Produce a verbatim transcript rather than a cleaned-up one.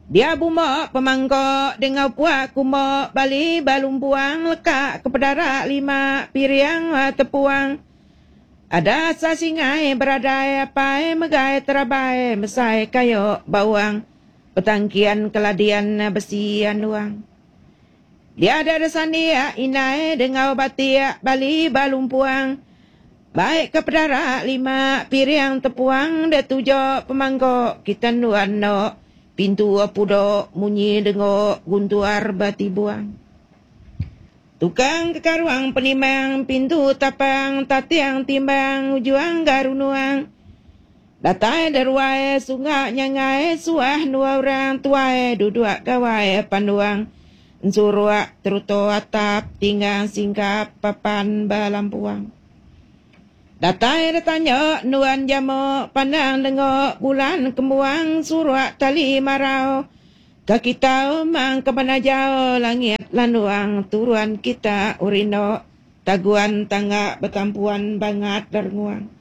Dia buma pemangkok dengau puak kuma bali balumpuang lekak ke pedara lima piriang tepuang. Ada sasingai beradai apai megai terabai mesai kayu bawang petangkian keladian besi anuang. Dia ada sandia inai dengau batiak bali balumpuang. Baik ke pedara lima piriang tepuang dia tujuk pemangkok kita nuan no pintu pudok munyi dengok guntuar batibuang. Tukang kekaruang penimang pintu tapang tatiang timbang ujuang garunuang. Datai deruai sungai nyangai suah dua orang tuai duduk gawai panduang. Ensuruak teruto atap tinggang singkap papan balampuang. Datai datanya nuan jamu pandang dengok bulan kembuang suruak tali marau. Ke kita mang ke mana jauh langit landuang turuan kita urino taguan tangga bertampuan bangat derguang.